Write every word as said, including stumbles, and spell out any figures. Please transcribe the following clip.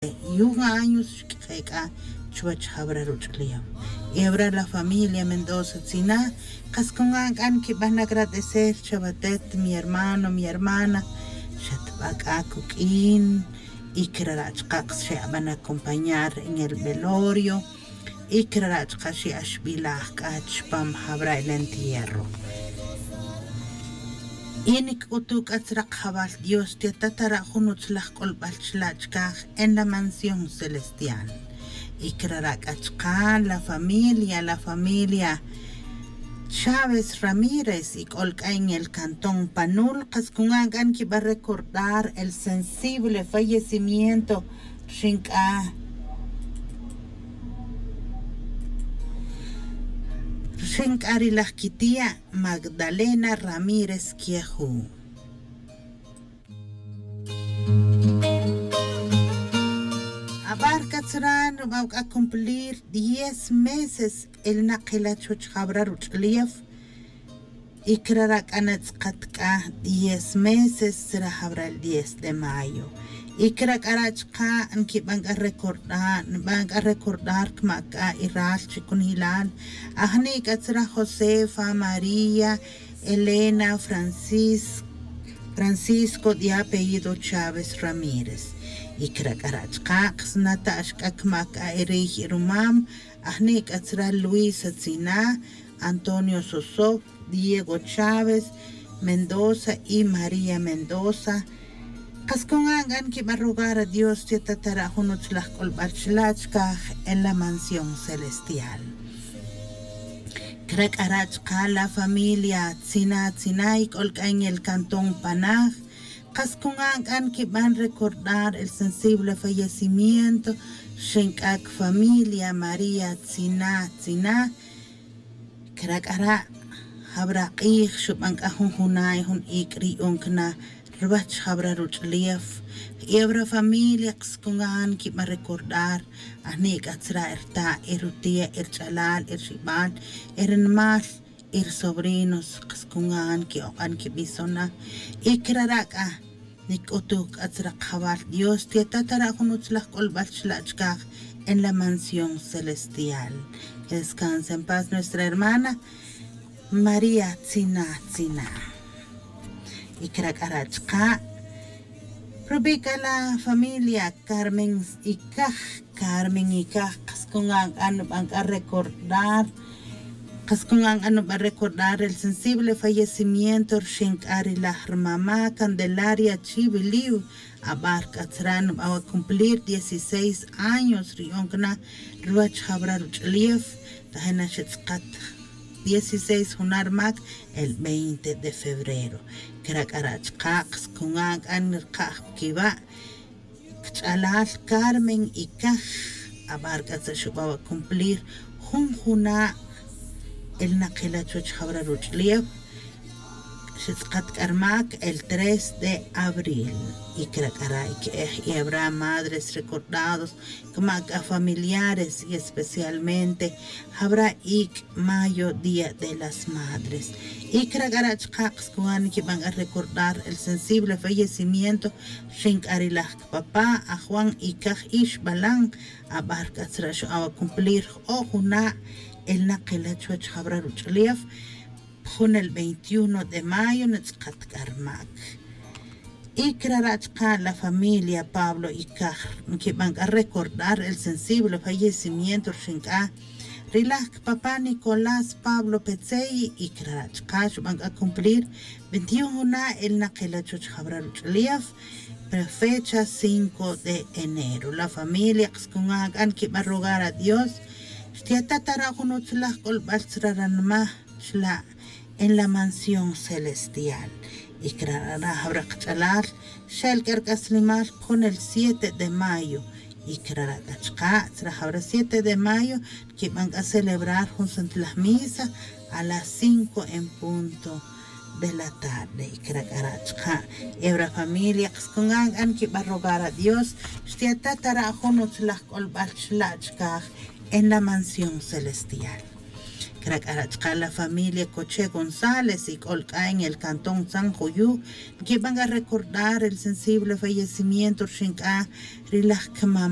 Y un años xk'e' k'a chuwech jawra ruch'ulef. Y awra la familia Mendoza Tzina, qas kun an k'an kib'an agradecer chawa tet mi hermano, mi hermana, xatb'a k'a kuk'in. Y krara' chaq'a' qas xe'ab'an acompañar en el velorio. Y krara' chaq'a' xe'axb'ilaj k'a chpam jawra el entierro. Y nik'utu' k'a tzra qajawal Dios, xtyata' tara' jun utzlaj k'olb'al chla' chkaj en la mansión celestial. Y krara' k'a chqa' la familia, la familia Chávez Ramírez, y k'ol k'a en el cantón Panul, qas kun an k'a nkib'an recordar el sensible fallecimiento rxin k'a rxin k'a ri laj kitia' Magdalena Ramírez Quejú. Ab'ar k'a tzra nub'an k'a cumplir diez meses el naqila' chuwech jawra ruch'ulef. Y krara' k'a natz'aqat k'a diez meses tzra jawra el diez de mayo. Y krak'ara' chqa' nkib'an k'a recordar, nb'an k'a recordar kma' k'a y ral chi kunjilal. Ajni' k'a tzra Josefa, María, Elena, Francis, Francisco, de apellido Chávez Ramírez. Y krak'ara' chqa' qsnata'x k'a kma' k'a y riy y rumam. Ajni' k'a tzra Luisa Tzina, Antonio Sosoc, Diego Chávez Mendoza y María Mendoza. Qas kun an k'a nkib'an rogar a Dios, xtyata' tara' jun utzlaj k'olb'al chla' chkaj en la mansión celestial. Krak'ara' chqa' la familia Tzina Tzina, y k'ol k'a en el cantón Panaj. Qas kun an k'a nkib'an recordar el sensible fallecimiento rxin k'a kfamilia María Tzina Tzina. Krak'ara' jawra q'ij xub'an k'a jun juna' y jun iik' ri yu'un kna ruwech jawra ruch'ulef. Y awra familia qas kun an nkib'an recordar, ajni' k'a tzra' rta' y rutia' y rch'alal y rxib'an y rinimal y rsobrinos qas kun an ki'oq'an kib'ison na. Y krara' k'a nik'utuj k'a tzra qajawal Dios, xtyata' tara' jun utzlaj k'olb'al chla' chkaj en la mansión celestial. Que descanse en paz nuestra hermana María Tzina Tzina. Y krak'ara' chqa' rub'i' k'a la familia Carmen Icaj, Carmen Icaj, qas kun an k'a nub'an k'a recordar, qas kun an k'a nub'an recordar el sensible fallecimiento rxin k'a ri laj rmama' Candelaria Chiviliw. Ab'ar k'a tzra' nub'an wa' cumplir dieciséis años ri yu'un kna ruwech jawra ruch'ulef. Tajin na xetz'aqat dieciséis juna' rmak el veinte de febrero. Krak'ara' chqa' qas kun an k'a nirkaj kiwa' kch'alal Carmen Icaj. Ab'ar k'a tzra' xub'an wa' cumplir jun juna' el naqila' chuwech jawra ruch'ulef. Xetz'aqat k'a rmak el tres de abril. Y krak'ara' y ke'ej y awra madres recordados, kma' k'a familiares y especialmente jawra iik' mayo, Día de las Madres. Y krak'ara' chqa' qas kun an nkib'an k'a recordar el sensible fallecimiento rxin k'a ri laj kpapa' a Juan Icaj Ixbalan. Ab'ar k'a tzra' xub'an wa' cumplir jo'oj juna' el naqila' chuwech jawra ruch'ulef. Pjun el veintiuno de mayo natz'aqat k'a rmak. Y krak'ara' chqa' la familia Pablo Icaj nkib'an k'a recordar el sensible fallecimiento rxin k'a ri laj kpapa' Nicolás Pablo Petzey. Y krak'ara' chqa' xub'an k'a cumplir veintiuno juna' el naqila' chuwech jawra ruch'ulef, pero fecha cinco de enero. La familia qas kun an k'a nkib'an rogar a Dios, xtyata' tara' jun utzlaj k'olb'al tzra' ranma chla' en la mansión celestial. Y krak'ara' jawra qach'alal xel k'a rk'aslemal pjun el siete de mayo. Y krak'ara' k'a chqa' tzra' jawra siete de mayo nkib'an k'a celebrar jun santlaj misa a las cinco en punto de la tarde. Y krak'ara' chqa' y awra familia qas kun an k'a nkib'an rogar a Dios, xtyata' tara' jun utzlaj k'olb'al chla' chkaj en la mansión celestial. C'a ra' chaka' la familia coche gonzález y c'ol c'a en el cantón san juyu, nquiben c'a recordar el sensible fallecimiento rixin c'a ri laj quimam.